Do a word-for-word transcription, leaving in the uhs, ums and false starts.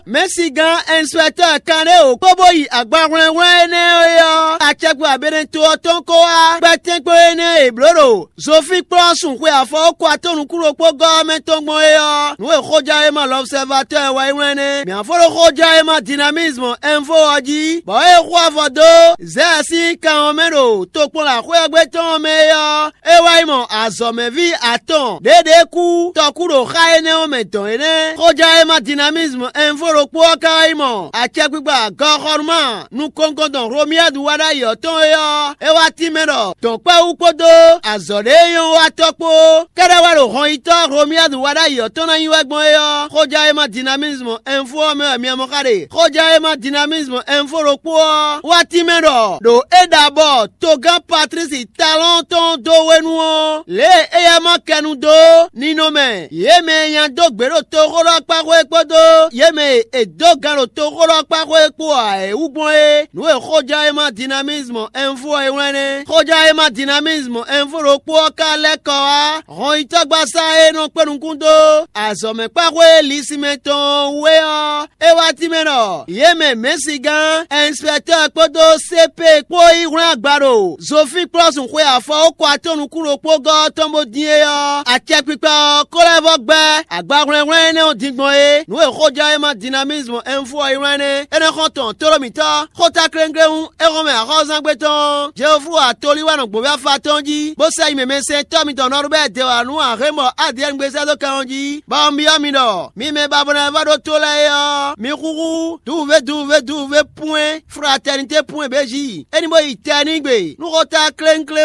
Mɛ̌sigán ɛnswɛtɔ́ kanɖé wǒ kpó bó yi agbahwlɛ́nhwlɛ́n énɛ́ é ɔ́, acɛkpikpa Beneto ɔ́ tɔn kó wá kpɛ́tɛ́nkpɔ́n énɛ́ e blǒ ɖo Zofíi kplɔ́ sun xwe afɔwókɔ atɔ́ nukúnɖokpógɔ́ ɔ́ mɛ tɔn gbɔn é ɔ́, nǔ e xójánwéma L'Observateur wɛ é wlɛ́n nɛ́. Mǐ ná fó ɖo xójánwéma Dynamisme Info ɔ́ jí, bɔ é xo avɔ dó Zɛ́ɛ sín kan ɔ́ mɛ ɖo tokpɔnlaxwé ɔ́ gbe tɔn ɔ́ mɛ é ɔ́, é wá yi mɔ azɔ̌mɛví atɔn ɖě ɖě kú tɔkú ɖo xá énɛ́ ɔ́ mɛ dɔn é nɛ́. Xójánwéma Dynamisme Info ɖokpó ɔ́ ka wá yi mɔ acɛkpikpa gɔxɔnuma nukɔntɔn Hlomiyadu wá ɖ'ayǐ ɔ́ tɔn é ɔ́, é wá tínmɛ ɖɔ dɔ̌nkpɛ́wú kpódó azɔ̌ ɖé e nyɔ́ wa tɔ́ kpó kɛ́ɖɛ́ wɛ ɖo hɔnyitɔ́ Hlomiyadu wá ɖ'ayǐ ɔ́ tɔn ná nyí wɛ gbɔn é ɔ́, xójánwéma Dynamisme Info ɔ́ mɛ wɛ mi mɔ xá ɖe. Xójánwéma Dynamisme Info ɖokpó ɔ́ wá tínmɛ ɖɔ ɖo é ɖa bɔ togán Patlísi Talɔ́ɔn tɔn dó hwenu ɔ́, lě e éyɛ́ ma kɛnu dó ninɔmɛ yě mɛ e nya dó gbě ɖo toxóɖɔkpáxwé kpódó yě mɛ e è dó gan ɖo toxóɖɔkpáxwé kpó ǎ é wú gbɔn é, nǔ e xójánwéma Dynamisme Info ɔ́ é wlɛ́n nɛ́. Xójánwéma Dynamisme Info ɖokpó ɔ́ ka lɛ́ kɔ wá hɔnyitɔ́gbasá e nɔ kpé nukún dó azɔ̌mɛkpáxwé Lisimɛ tɔn ɔ́ wú é ɔ́, é wá tínmɛ ɖɔ yě mɛ mɛ̌sigán, ɛnspɛktɔ́ kpódó C P kpó yi hwlɛ́n agba ɖo Zofíi kplɔ́ sun xwe afɔwókɔ atɔ́ nukún ɖokpógɔ́ ɔ́ tɔn bó dín é ɔ́, acɛkpikpa ɔ́ ko lɛ́ vɔ́ gbɛ́ agbahwlɛ́nhwlɛ́n énɛ́ ɔ́ din gbɔn é. Nǔ e xójánwéma Dynamisme Info ɔ́ yi wlɛ́n nɛ́. É nɔ xɔ́n tɔn tlóló mǐtɔn xóta klénkléhún é hɔn mɛ axɔ́zángbé tɔn ɔ́, Jeoflu atolí wɛ nɔ gbǒví afa tɔn jí, bó sɛ yi mɛmɛsɛntɔ́ mitɔn nɔ ɖo bɛ́ dewanu Ahémɔ Adiyɛ́ɛn gbé sɛ́ dó kan ɔ́ jí, bɔ un byɔ́ mi ɖɔ mi mɛ ba bó ná vɔ́ ɖó tó lɛ́ɛ é ɔ́, mi xúxú duwuvé duwuvé duwuvé pwɛ́n fratɛnité pwɛ́n bějí. É ní bó yi tɛ n'i gbe nú xóta klénkléhún.